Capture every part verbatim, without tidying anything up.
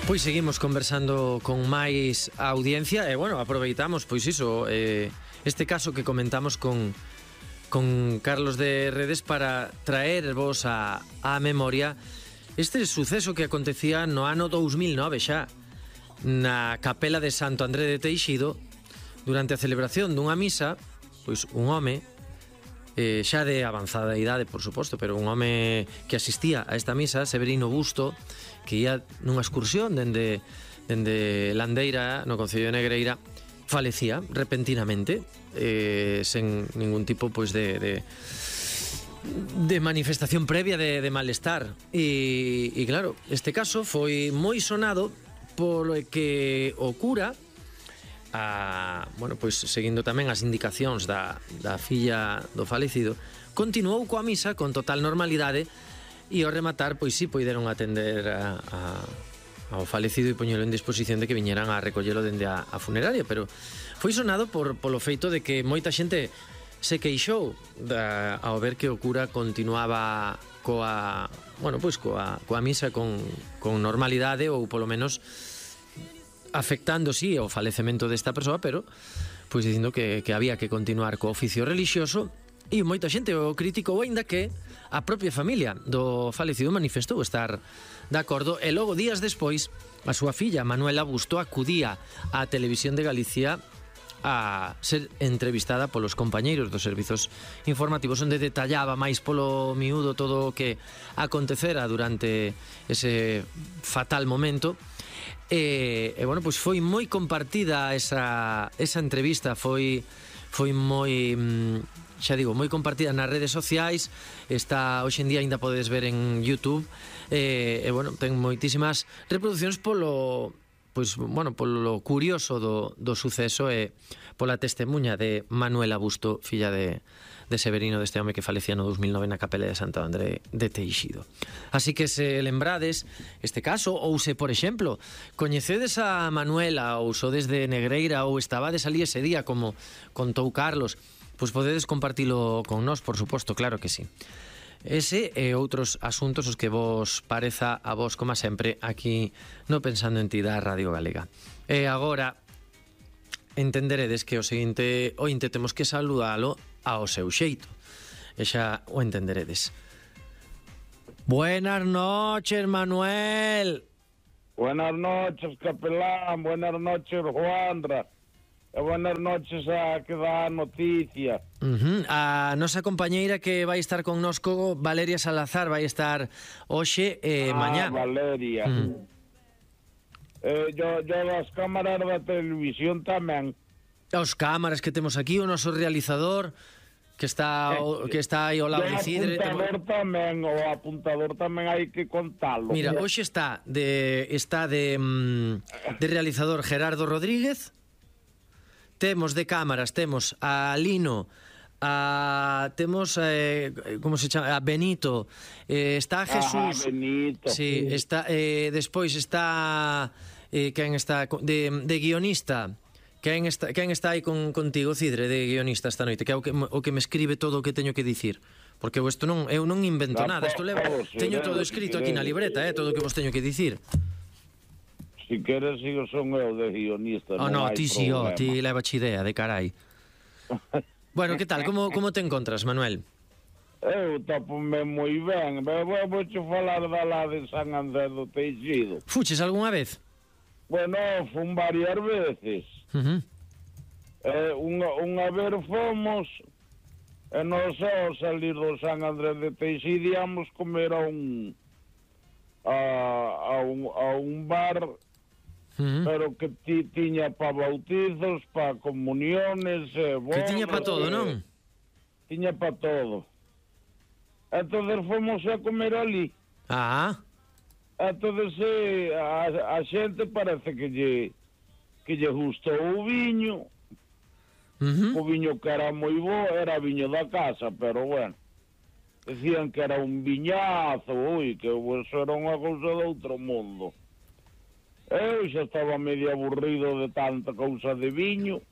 Pois seguimos conversando con máis audiencia e, bueno, aproveitamos, pois iso, eh, este caso que comentamos con, con Carlos de Redes para traervos a, a memoria este suceso que acontecía no ano dous mil nove xa na capela de Santo André de Teixido durante a celebración dunha misa. Pois un home eh, xa de avanzada idade, por suposto, pero un home que asistía a esta misa, Severino Busto, que ia nunha excursión dende, dende Landeira, no concello de Negreira, falecía repentinamente, eh, sen ningún tipo pois de, de, de manifestación previa de, de malestar. E, e claro, este caso foi moi sonado polo que o cura, a, bueno, pois seguindo tamén as indicacións da, da filla do falecido, continuou coa misa con total normalidade. E ao rematar, pois sí, poideron atender a, a, ao falecido e poñelo en disposición de que viñeran a recollelo dende a, a funeraria, pero foi sonado por, polo feito de que moita xente se queixou da, ao ver que o cura continuaba coa, bueno, pois coa, coa misa con, con normalidade, ou polo menos afectando, sí, o falecemento desta persoa, pero pois dicindo que, que había que continuar co oficio relixioso. E moita xente o criticou, aínda que a propia familia do falecido manifestou estar de acordo, e logo días despois a súa filla Manuela Busto acudía á Televisión de Galicia a ser entrevistada polos compañeiros dos servizos informativos, onde detallaba máis polo miúdo todo o que acontecera durante ese fatal momento. E, e bueno, pois foi moi compartida esa, esa entrevista, foi, foi moi... xa digo, moi compartida nas redes sociais, está hoxe en día, aínda podes ver en YouTube, e, e bueno, ten moitísimas reproduccións polo, pois, bueno, polo curioso do, do suceso e pola testemunha de Manuela Busto, filla de, de Severino, deste home que falecía no dous mil nove na capela de Santo André de Teixido. Así que se lembrades este caso, ou se, por exemplo, coñecedes a Manuela ou sodes de Negreira ou estabades ali ese día, como contou Carlos, pois podedes compartilo con nós, por suposto, claro que sí. Ese e outros asuntos os que vos pareza a vos, como sempre, aquí no Pensando en Ti da Radio Galega. E agora entenderedes que o seguinte ointe temos que saludalo ao seu xeito. E xa o entenderedes. Buenas noches, Manuel. Buenas noches, capelán. Buenas noches, Juandra. E buenas noches a que dá a noticia. Uh-huh. A nosa compañeira que vai estar connosco, Valeria Salazar, vai estar hoxe e eh, ah, mañá. Valeria. Uh-huh. eh, yo, yo das cámaras da televisión tamén. Os cámaras que temos aquí, o noso realizador que está o, que está aí ao lado de Cidre. O apuntador tamén, o apuntador tamén hai que contalo. Mira, hoxe está de está de de realizador Gerardo Rodríguez. Temos de cámaras, temos a Lino, a temos eh, como se chama, a Benito, eh, está Jesús. Ah, Benito. Sí, está eh, despois está eh, quen está de, de guionista. Quen está, quen está aí con, contigo, Cidre, de guionista esta noite, que é o que, o que me escribe todo o que teño que dicir. Porque eu isto non, eu non invento nada, isto levo, teño todo escrito aquí na libreta, eh, todo o que vos teño que dicir. Si queres, sigo son eu de guionista. Oh, non no, ti si, oh, ti leva chi idea, de carai. Bueno, que tal? Como, como te encontras, Manuel? Eu topome moi ben. Vou che falar da lá de San Andrés do Teixido. Fuches algunha vez? Bueno, fun varias veces. Uh-huh. eh, unha, unha vez fomos, e nós ao salir do San Andrés de Teixido íamos comer a un a, a un, a un bar. Uh-huh. Pero que ti, tiña pa bautizos, pa comuniones, eh, bodas, que tiña pa todo, non? Tiña pa todo. Entonces fomos a comer ali. Ah. Entonces eh, a, a xente parece que lle que lle gustou o viño. Uh-huh. O viño que era moi bo, era viño da casa, pero bueno, decían que era un viñazo, ui, que eso era unha cousa de outro mundo. Eu xa estaba medio aburrido de tanta cousa de viño.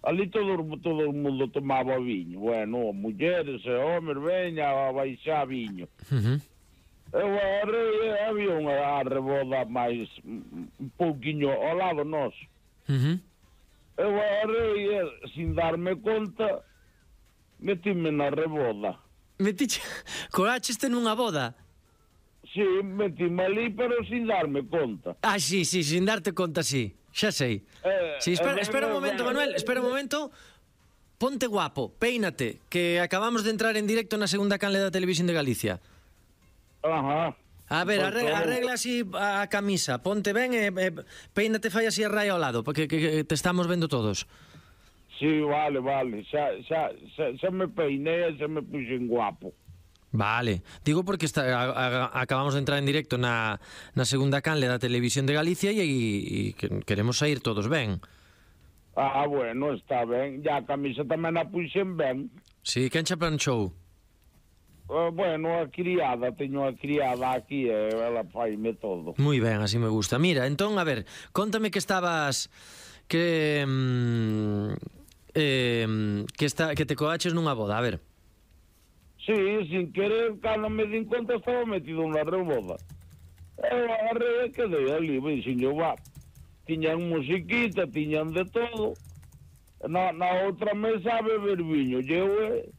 Ali todo, todo o mundo tomaba viño. Bueno, mulleres e homes, veña a baixar viño. Uh-huh. Eu arrei, había unha arreboda máis un pouquiño ao lado noso. Uh -huh. Eu arrei, sin darme conta, metime na reboda. Metiche... Colácheste nunha boda? Sí, metime ali, pero sin darme conta. Ah, sí, sí, sin darte conta, sí. Xa sei. Eh, Sí, espera, eh, espera un eh, momento, eh, Manuel, espera un momento. Ponte guapo, peínate, que acabamos de entrar en directo na segunda canle da Televisión de Galicia. Ajá. A ver, Pues arregla, todo. arregla así a camisa, ponte ben e, e peínate, fai así a raya ao lado, porque que, que te estamos vendo todos. Sí, vale, vale. Xa, xa, xa, xa me peiné, xa me puxen guapo. Vale, digo porque está, a, a, acabamos de entrar en directo na, na segunda canle da Televisión de Galicia e, e, e que queremos sair todos ben. Ah, bueno, está ben. Ya a camisa tamén a puxen ben. Sí, quen xa planchou? Uh, bueno, a criada, teño a criada aquí e ela faime todo. Moi ben, así me gusta. Mira, entón, a ver, contame que estabas... Que... Mm, eh, que, está, que te coaches nunha boda, a ver. Sí, sin querer, cando me din conta estaba metido na reboda. Eu agarrei e quedei ali, dixen eu, va. Tiñan musiquita, tiñan de todo. Na, na outra mesa a beber viño. E eu eh,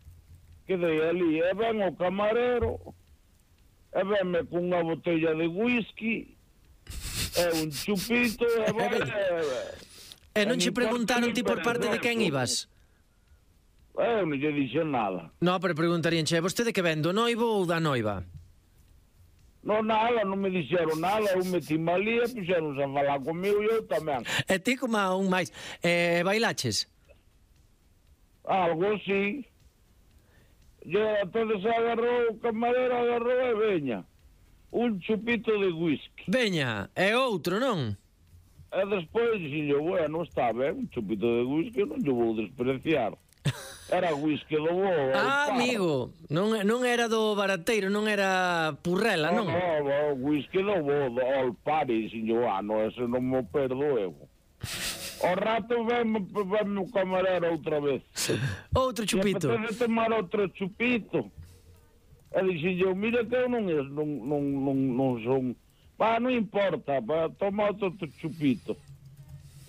quedei ali, e ven o camarero, e venme cunha botella de whisky, e un chupito, e vai... E non che preguntaron ti por parte de quen ibas? Eu non lle dixen nada. No, pero preguntarían, che, vostede que ven, do noivo ou da noiva? Non, nada, non me dixeron nada, eu meti ali e puxeronse a falar comigo e eu tamén. E ti como a un máis. E bailaches? Algo así. E entonces agarrou o camarero, agarrou e veña. Un chupito de whisky. Veña, e outro, non? E despois dixen, bueno, está ben, un chupito de whisky non lle vou despreciar. Era whisky do bo. Ah, amigo, non, non era do barateiro, non era purrela, non? No, no, whisky do bo, do All Party, dixen, ah, no, ese non me perdo eu. O rato veme, veme o camarero outra vez. Outro chupito. E apetece tomar outro chupito. E dixen eu, mira que eu non, non, non, non, non son... Pa, non importa, pa, toma outro chupito.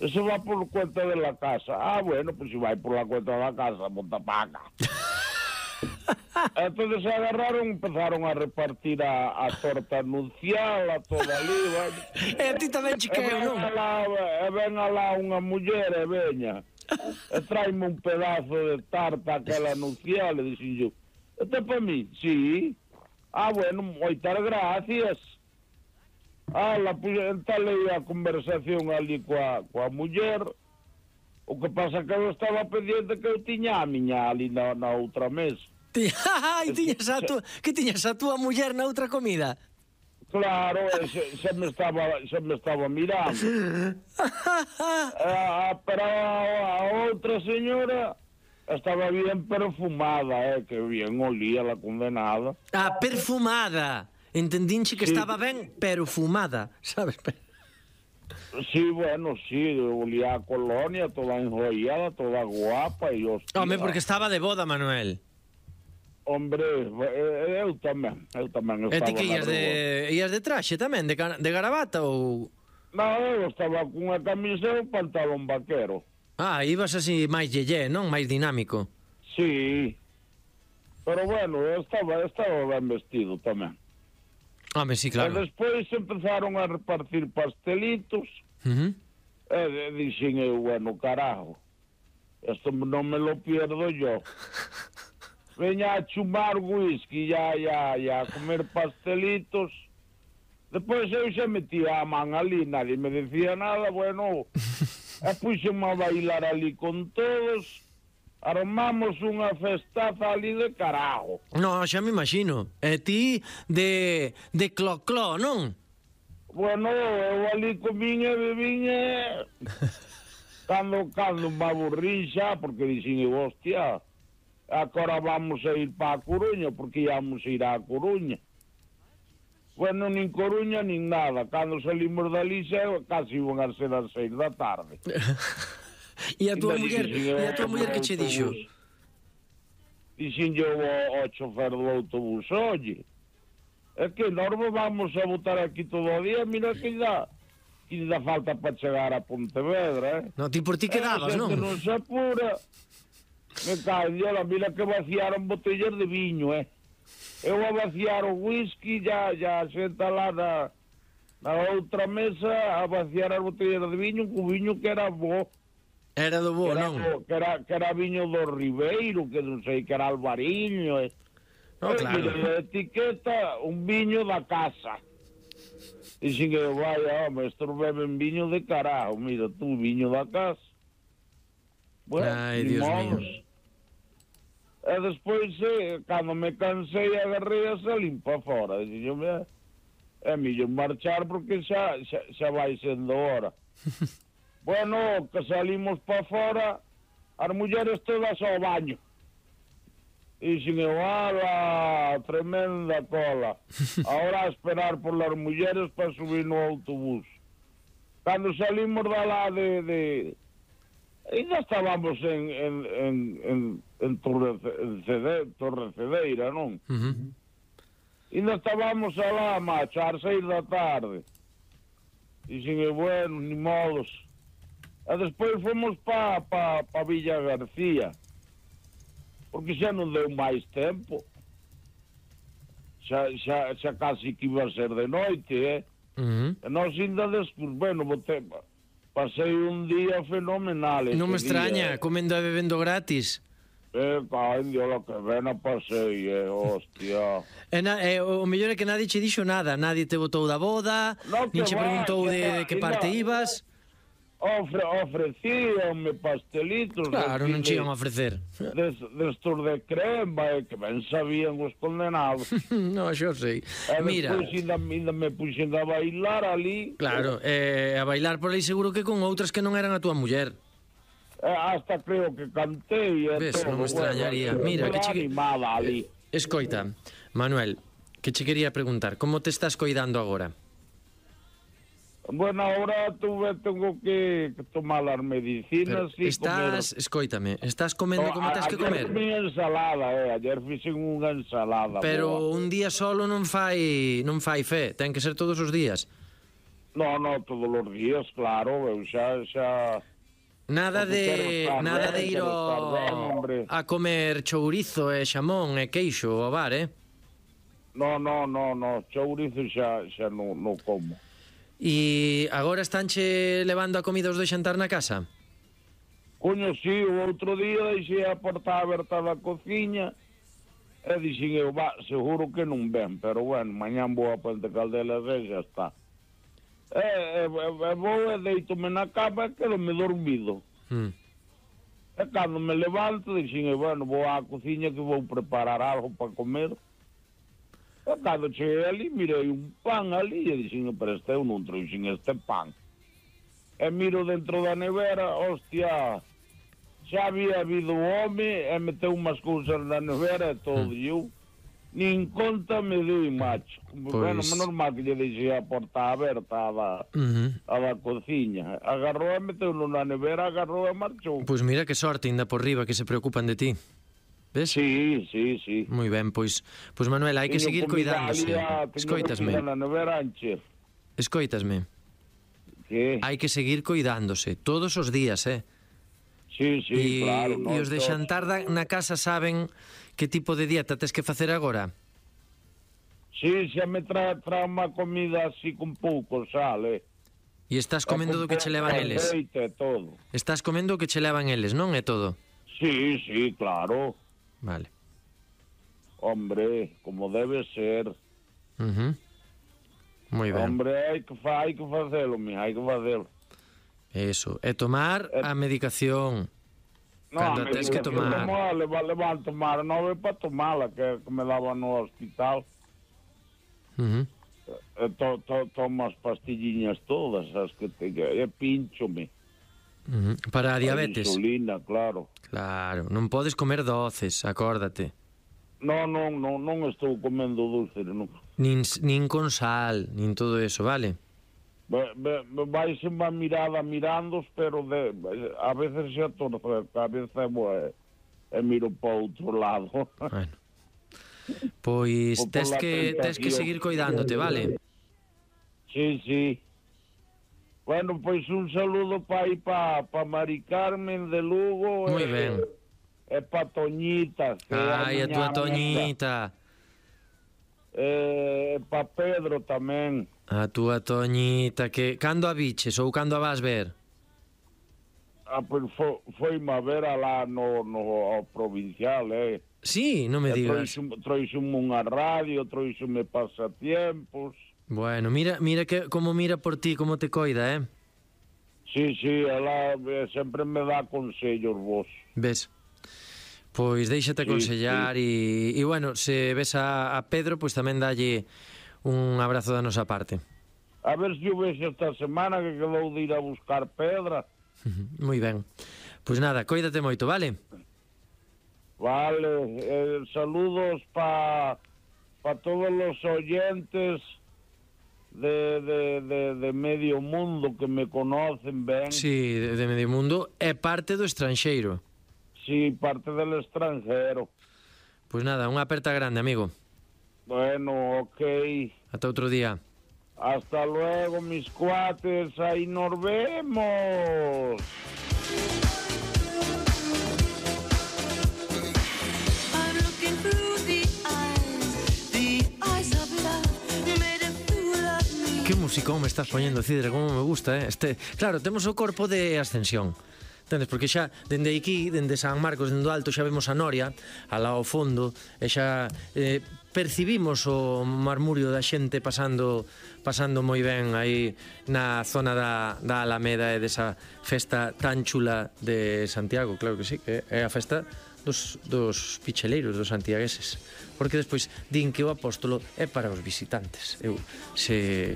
Eso va por cuenta de la casa. Ah, bueno, pues si vai por la cuenta de la casa, monta paga. Entonces se agarraron, empezaron a repartir a, a torta anuncial, a toda ali, vai. E a ti tamén chiqueo, non? E ven alá unha muller e veña. E traime un pedazo de tarta aquela anuncial, e dixen yo, este para mí? Sí. Ah, bueno, moitas gracias. Ah, la, entalei a conversación ali coa, coa muller. O que pasa que eu estaba pendiente que eu tiña a miña ali na, na outra mesa. Ai, tiñas a tua, que tiñas a tua muller na outra comida? Claro, se, se me estaba se me estaba mirando. ah, pero a, a outra señora estaba bien perfumada, eh, que bien olía la condenada. Ah, perfumada. Entendinche que sí. Estaba ben, pero fumada, sabes? Sí, bueno, sí, olía a colonia, toda enjollada, toda guapa e hostia. Home, porque estaba de boda, Manuel. Hombre, eu tamén, eu tamén estaba. E ti que ías de, ías de traxe tamén, de, de garabata ou... Non, eu estaba cunha camisa e un pantalón vaquero. Ah, ibas así máis yeye, non? Máis dinámico. Sí, pero bueno, eu estaba, estaba ben vestido tamén. Home, sí, claro. E despois empezaron a repartir pastelitos. Uh -huh. E dixen eu, bueno, carajo, esto non me lo pierdo yo. Veña a chumar whisky e a, a, a comer pastelitos. Despois eu xa metía a man ali, nadie me decía nada, bueno, e puxeme a bailar ali con todos. Armamos unha festaza ali de carajo. No, xa me imagino. E ti de, de clo-clo, non? Bueno, eu ali comín e bebín e... cando, cando me aburrí xa, porque dixen, hostia, agora vamos a ir pa a Coruña, porque íamos a ir á Coruña. Bueno, nin Coruña, nin nada. Cando salimos dali xa, casi iban a ser as seis da tarde. E a tua muller, e a tua muller que che dixo? Dixen yo ao chofer do autobús, oye, É que nós vamos a botar aquí todo o día, mira que dá, que dá falta para chegar a Pontevedra, eh? No, ti por ti quedabas, non? Se non se apura, me cae, diola, mira que vaciaron botellas de viño, eh? Eu a vaciar o whisky, ya, ya senta lá na, na outra mesa a vaciar as botellas de viño, co viño que era bo. Era do bo, que era, non? bo, que, era, que era viño do Ribeiro, que non sei, que era Alvariño, eh? No, claro. E etiqueta un viño da casa. Dixen que, vaya, home, estos beben viño de carajo, mira, tú, viño da casa. Bueno, Ai, Dios modos. mío. E despois, eh, cando me cansei, agarrei a salir para fora. Dixen, yo, mira, é millor marchar porque xa, xa, xa vai sendo hora. Bueno, que salimos para fora, as mulleres todas ao baño. E sin ala, tremenda cola. Ahora a esperar por las mulleres para subir no autobús. Cando salimos da lá de... de... ainda estábamos en, en, en, en, en Torre, Cede, Torre Cedeira, non? Uh -huh. Ainda estábamos alá, macho, ás seis da tarde. E sin bueno, ni modos. E despois fomos pa, pa, pa Villa García. Porque xa non deu máis tempo. Xa, xa, xa casi que iba a ser de noite, eh? Uh -huh. E nós ainda despois, bueno, bote, pasei un día fenomenal. Non me día, extraña, comendo e bebendo gratis. Eh, caño, lo que ven a pasei, eh, hostia. E na, eh, o mellor é que nadie che dixo nada, nadie te botou da boda, No, nin que che va, preguntou que de, va, de que que parte va. ibas. Ofre, ofrecíanme pastelitos. Claro, non che de, iban a ofrecer. Des, destos de crema, eh, que ben sabían os condenados. No, xo sei. E Mira, despois ainda, ainda me puxen a bailar ali. claro, eh, a bailar por aí seguro que con outras que non eran a túa muller. Eh, hasta creo que cantei e Ves, todo. non me extrañaría. Bueno, Mira, que che... animada ali. Escoita, Manuel, que che quería preguntar, como te estás coidando agora? Bueno, ahora tuve, tengo que, que tomar las medicinas Pero y estás, escoítame, estás comendo comer. como tens que comer? Ayer fui ensalada, eh, ayer fixen unha ensalada. Pero boa. un día solo non fai non fai fe, ten que ser todos os días. No, no, todos os días, claro, eu xa, xa... Nada Porque quero de estar nada ben, de ir quero estar ben, ao, hombre. a comer chourizo e xamón e queixo ao bar, eh? No, no, no, no, chourizo xa, xa non no como. E agora estánche levando a comida os do xantar na casa? Coño, si, o outro día deixei a porta aberta da cociña e dixen eu, va, seguro que non ven, pero bueno, mañán vou a Puente Caldelas e xa está. E, e, e vou e deitome na cama e quedo-me dormido. Mm. E cando me levanto, dixen eu, bueno, vou á cociña que vou preparar algo para comer. E cando cheguei ali, mirei un pan ali e dixen, pero este eu non trouxen este pan. E miro dentro da nevera, hostia, xa había habido home e meteu unhas cousas na nevera e todo, mm. e eu nin conta me dei, macho. Pois... Bueno, menos mal que lle deixei a porta aberta a da, uh -huh. a da cociña. Agarrou e meteu na nevera, agarrou e marchou. Pois mira que sorte ainda por riba que se preocupan de ti. Ves? Sí, sí, sí. Moi ben, pois, pois Manuel, hai que Teño seguir cuidándose. Escoitasme. Na nevera anche. Escoitasme. Que? Hai que seguir cuidándose todos os días, eh? Sí, sí, e, claro. E os de xantar da, na casa saben que tipo de dieta tes que facer agora? Sí, xa me trae, trae unha comida así con pouco sal, eh? E estás comendo do que che levan eles? Todo. Estás comendo o que che levan eles, non é todo? Sí, sí, claro. Vale. Hombre, como debe ser. Uh -huh. Moi ben. Hombre, hai que, fa, hai que facelo, mi, hai que facelo. Eso, e tomar a medicación. No, Cando a tens que tomar. tomar le, le van a tomar nove para tomala, que, que me daban no hospital. Uh -huh. E to, to, tomo as pastilliñas todas, as que te... E pinchome. Uh -huh. Para a diabetes. A insulina, claro. Claro, non podes comer doces, acórdate. No, non, non, non estou comendo dulces, non. Nin, nin con sal, nin todo eso, vale? Vais en má mirada mirandos, pero de, a veces xa torce a cabeza e, e miro para outro lado. Bueno. Pois por tes la que, tes que tentación. seguir coidándote, vale? Sí, sí. Bueno, pois un saludo pa aí pa, pa Mari Carmen de Lugo. Moi e, ben. E pa Toñita, que é a Ai, a miña túa amiga. Toñita. E pa Pedro tamén. A túa Toñita, que cando a biches ou cando a vas ver? Ah, pois fo, foi má ver alá no, no ao provincial, eh. Sí, non me E digas. trouxo- Trouxome unha radio, trouxome pasatiempos. Bueno, mira, mira que como mira por ti, como te coida, eh? Sí, sí, ela eh, sempre me dá consellos vos. Ves? Pois déixate Sí, aconsellar e, e bueno, se ves a, a Pedro, pois tamén dalle un abrazo da nosa parte. A ver se o vexo esta semana que quedou de ir a buscar pedra. Moi ben. Pois nada, coídate moito, vale? Vale, eh, saludos pa, pa todos los oyentes de, de, de, de medio mundo que me conocen ben. Sí, de, de medio mundo é parte do estranxeiro. Sí, parte del extranjero. Pois nada, unha aperta grande, amigo. Bueno, ok. Ata outro día. Hasta luego, mis cuates. Ahí nos vemos. I'm looking through the eyes, the eyes of love, made a fool of me. Que musicón me estás poñendo, Cidre, como me gusta, eh? Este, claro, temos o corpo de Ascensión. Entendes? Porque xa, dende aquí, dende San Marcos, dende o alto, xa vemos a Noria, alá ao fondo, e xa eh, percibimos o marmurio da xente pasando pasando moi ben aí na zona da, da Alameda e desa festa tan chula de Santiago, claro que sí, que é a festa dos, dos picheleiros, dos santiagueses. Porque despois din que o apóstolo é para os visitantes. Eu se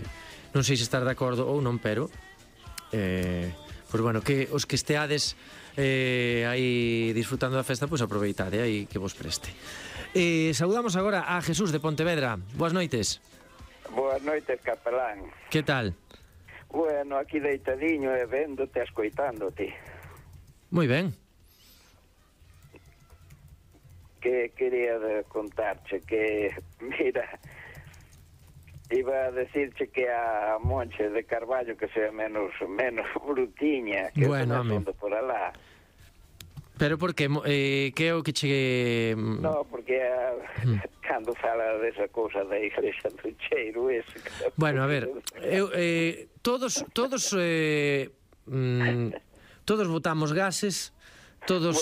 non sei se estar de acordo ou non, pero eh, pois bueno, que os que esteades eh, aí disfrutando da festa, pois aproveitade aí que vos preste. Eh, saudamos agora a Jesús de Pontevedra. Boas noites. Boas noites, capelán. Que tal? Bueno, aquí deitadiño e véndote, escoitándote. Moi ben. Que quería de contarche que, mira, iba a decirche que a Monche de Carballo que sea menos menos brutiña, que Bueno, eu home. tamén por alá. Pero por que? Eh, que é o que che... No, porque a, cando fala desa cousa da iglesia do cheiro ese... Bueno, a ver, eu, eh, todos todos eh, mm, todos botamos gases, todos